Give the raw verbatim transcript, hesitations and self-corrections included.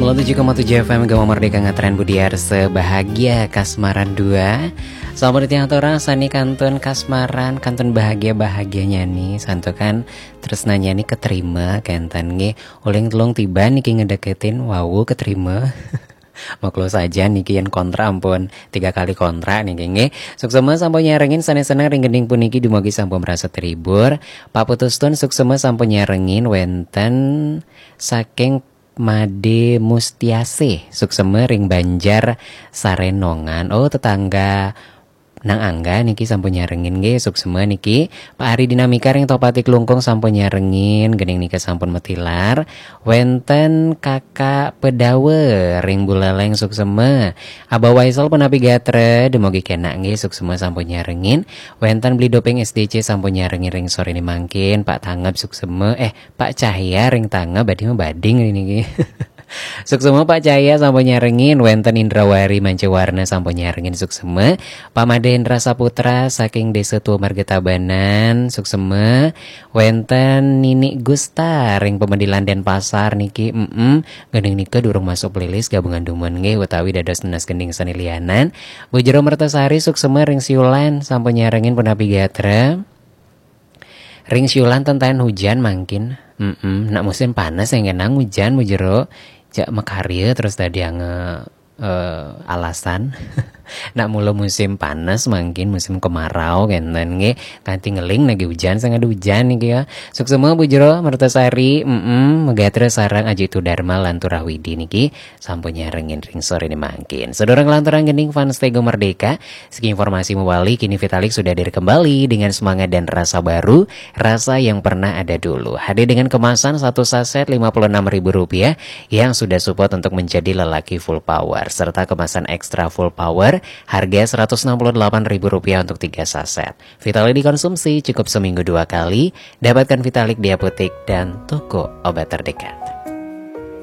Tujuh koma tujuh F M Gema Merdeka, ngetren Budi Arse, bahagia kasmaran dua. Selamat datang orang sani kantun kasmaran, kantun bahagia-bahagianya nih, santukan terus nanya nih keterima, kenten nggih. Uling telung tiba niki ngedeketin, wau keterima. Maklo saja niki yang kontra ampun tiga kali kontra niki nggih. Suksema sampun nyarengin, sane seneng ring gending puniki dumugi sampun merasa terhibur. Pak Putustun suksema sampun nyarengin, wenten saking Made Mustiase, suksema ring Banjar Sarenongan. Oh, tetangga Nang Angga niki sampun nyarengin nggih, suksema niki. Pak Ari Dinamika ring Tohpati Klungkung sampun nyarengin, gending nika sampun matilar. Wenten Kakak Pedawe ring Buleleng, suksema. Abah Waisel punapi gatra, dumugi kenak nggih, suksema sampun nyarengin. Wenten Beli Doping S D C sampun nyarengin ring sore ini mangkin. Pak Tangep suksema, eh, Pak Cahya ring Tangep, badhe mabading niki. Suksema Pak Cahya sampun nyarengin, wenten Indrawari Mancawarna sampun nyarengin, suksema. Pak Madendra Saputra saking Desa Tua Marga Tabanan, suksema. Wenten Nini Gusta ring Pemedilan Denpasar niki, mm, gending nika durung masuk playlist gabungan dumun nggih, utawi dados nenas gending sane lianan. Bu Jero Mertasari suksema ring Siulan sampun nyarengin, punapi gatra. Ring Siulan tenten hujan mangkin. Mm-mm. Nak musim panas yang kenang hujan, Bu Jero. Jak makarya terus tadi ange eh, alasan. Nak mula musim panas mangkin, musim kemarau kenten nggih. Kanti ngeling lagi hujan, sing ada hujan niki ya. Suksema Bu Jero Mertasari, mm-mm, Megatra sareng Aji Tudarma lan Turah Widi niki sampun nyarengin ring sore ini mangkin. Sedurung lanturang gending fans Tego Merdeka, segi informasi mewali, kini Vitalik sudah hadir kembali dengan semangat dan rasa baru, rasa yang pernah ada dulu. Hadir dengan kemasan satu saset lima puluh enam ribu rupiah yang sudah support untuk menjadi lelaki full power, serta kemasan ekstra full power harga seratus enam puluh delapan ribu rupiah untuk tiga saset. Vitalik dikonsumsi cukup seminggu dua kali, dapatkan Vitalik di apotek dan toko obat terdekat.